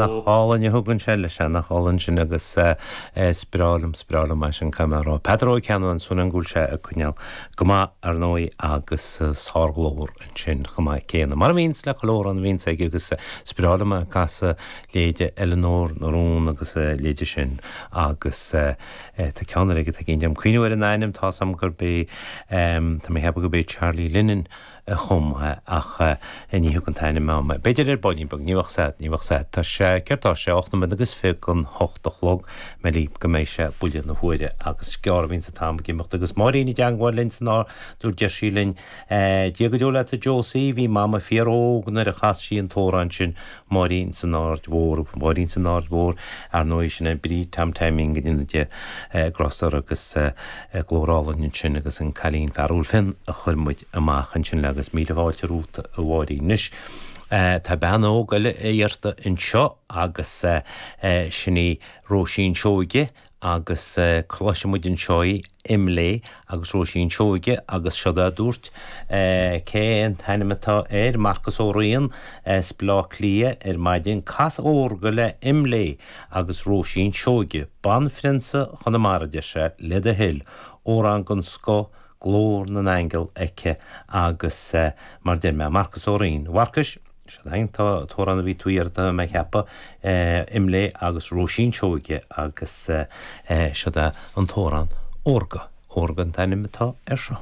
Nach álainn a thugann sé leis é, nach álainn sin agus is breá liom, is breá liom é sin, caithfidh mé a rá. Peadar Ó Ceannabháin, súil agam go bhfuil sé ag coinneáil go maith, ar ndóigh, agus sárghlór ansin chomh maith céanna. Mar a bhíonns le chuile amhrán a bhíonns aige agus is breá liom é ag casadh leithéide Eileanóir na Rún agus a leithéide sin agus tá ceann eile aige, tá ag éinne cuimhniú ar an ainm, tá's agam gurb é, tá mé ag ceapadh gurb é Charlie Lennon a chum é ach ní thiocfaidh an t-ainm a'm. B'fhéidir ar baillín beag, ní bheadh 's a'd, ní bheadh 's a'd. Tá sé, céard tá sé, 8 nóiméad agus 20 don hocht a chlog, meallaí go mbeidh sé buille na huaire agus is gearr a bhíonns an t-am ag imeacht agus Máirín i dteangmháil linn san Ard Mhór deir sí linn, Dia go deo leat a Josie, bhí Mama fíor óg nuair a chas sí an t-amhrán sin Máirín san Aird Mhór, Máirín san Aird Mhór, ar ndóigh sin é Bríd Tom Taimín go ndéana Dia grásta uirthi agus glór álainn ansin agus an cailín fearúil fionn a chuir muid amach ansin le agus míle fáilte romhat a Mháirín. Anois tá bean óg eile iarrta anseo agus sin í Róisín Seoige agus cloisfidh muid anseo í, Imlé agus Róisín Seoige agus seod é a dúirt, cé an t-ainm atá air, Marcas Ó Riain as Baile Átha Cliath ar maidin, cas Órga le Imlé agus Róisín Seoige, banphrionsa Chonamara, deir sé, le do thoil, amhrán den scoth, glór na n-aingeal aici agus mar deir mé, Marcas Ó Riain, a Mharcais, Seod é an t-amhrán a bhí tú a iarraidh tá mé a cheapadh, Imlé agus Róisín Seoige agus seod é an t-amhrán Órga. Órga an t-ainm atá air seo.